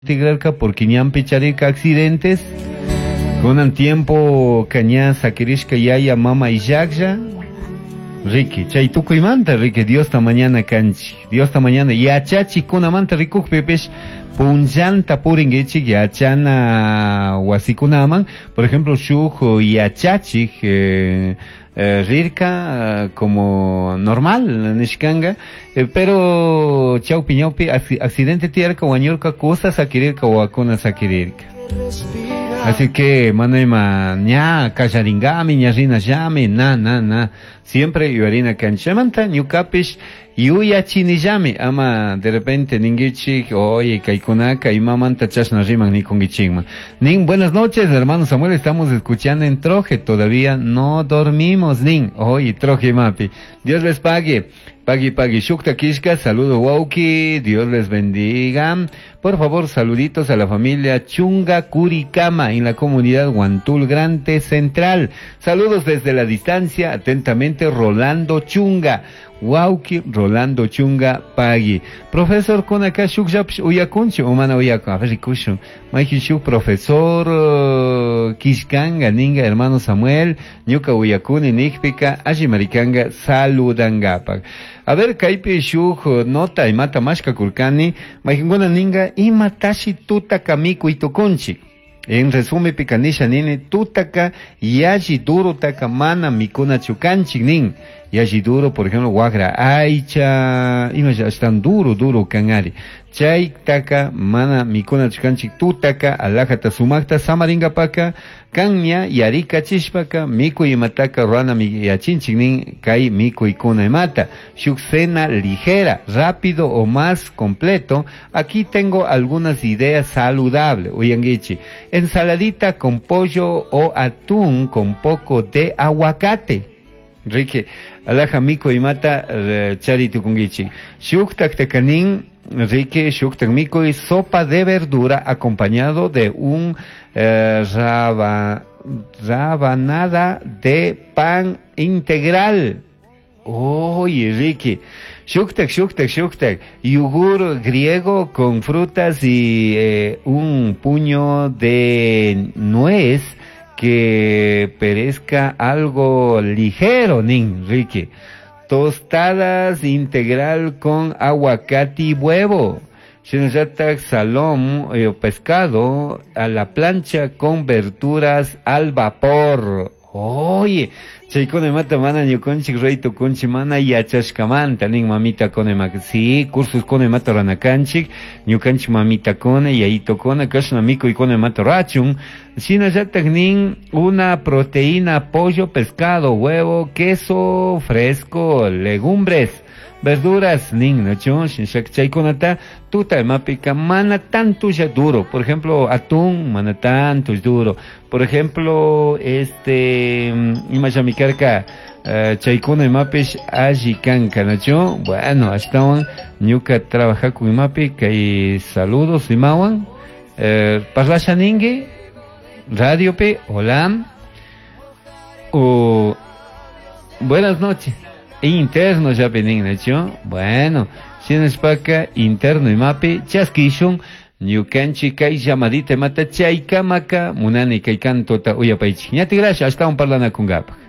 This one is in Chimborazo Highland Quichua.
Tigrarka porque ñanpi charirka accidentes. Kunan tiempo ña sakirishka yaya mama illaklla. Riki, chay tukuymanta riki Diosta mañana kanchik. Diosta mañana yachachikunamanta rikukpipish punllanta purinkichik yachana wasikunaman. Por ejemplo, shuk yachachik rirka como normal nishkanga, pero chawpi ñawpi accidente tiyarka wañurka kusa sakirirka wawakuna sakirirka. Así que manayma ña kallaringami ña rinallami na na na siempre yuyarina kanchik. Chaymanta ñukapish yuyachinillami ama de repente ninguichik oye kaykunaka imamanta chashna riman nikunkichikman. Nin buenas noches hermano Samuel, estamos escuchando en Troje, todavía no dormimos nin, oye Troje mapi. Dios les pague. Pagui pagui shukta kishka, saludo wauki, Dios les bendiga. Por favor, saluditos a la familia Chunga Curicama en la comunidad Huantul Grande Central. Saludos desde la distancia, atentamente Rolando Chunga. Wauki Rolando Chunga Pagui. Profesor kunaka shuk llapish uyakunchu o mana uyakun. A ver, rikushun. Mayjin shuk profesor kishkanga ninga hermano Samuel, ñuka uyakuni nikpika alli marikanga saludangapak. A ver, kaypi shuk nota imata mashkakurkani, mayjinkuna ninga imatashi tutaka mikuy tukunchik. En resumen, pika nisha nini, tutaka yalli duro taka mana mikunachu kanchik nin. Yalli duro, por ejemplo, wagra aycha, ima ashtan duro, duro kanari. Chay taka mana mikunachu kanchik tutaka alajata sumakta samaringapaka kanya yarikachishpaka mikuy imataka rurana yachinchik nin kay mikuykuna imata. Shuk cena ligera, rápido o más completo. Aquí tengo algunas ideas saludables. Uyanguichi. Ensaladita con pollo o atún con poco de aguacate. Rique, alaja mikuy imata chari tukunguichi. Shuktak takanin, Rique, shuktak mikuy, sopa de verdura acompañado de un rabanada de pan integral. Oye, Ricky. Shuktak, shuktak, shuktak. Yogur griego con frutas y un puño de nuez que perezca algo ligero, nin, Ricky. Tostadas integral con aguacate y huevo. Shinallatak salón pescado a la plancha con verduras al vapor. Oye, chaykuna imata mana ñukanchik ruray tukunchik mana yachashkamanta nin mamitakuna ima. Sí, cursoskuna imata ruranakanchik, ñukanchik mamitakuna, yayitokuna, kashna mikuykuna imata rurachun. Shinallatak nin una proteína, pollo, pescado, huevo, queso fresco, legumbres, verduras, nin, ¿no? Shinshak chaykunata tuta imapika mana tanto ya duro. Por ejemplo, atún, mana tanto es duro. Por ejemplo, ima llamikarka, chaykuna imapish alli kanka, ¿no? Bueno, ashtawan ñuka trabajaku imapi, kay saludos imawan. Parlasha ningi, radio pi, hola. O, buenas noches. Interno ya penin, ¿no? Bueno, shinashpaka interno imapi, chaskishun, ñukanchik kay llamadita imata chaykamaka, munani kay cantota uyapaychik. Ñati gracias, ashtawan parlanakungapak.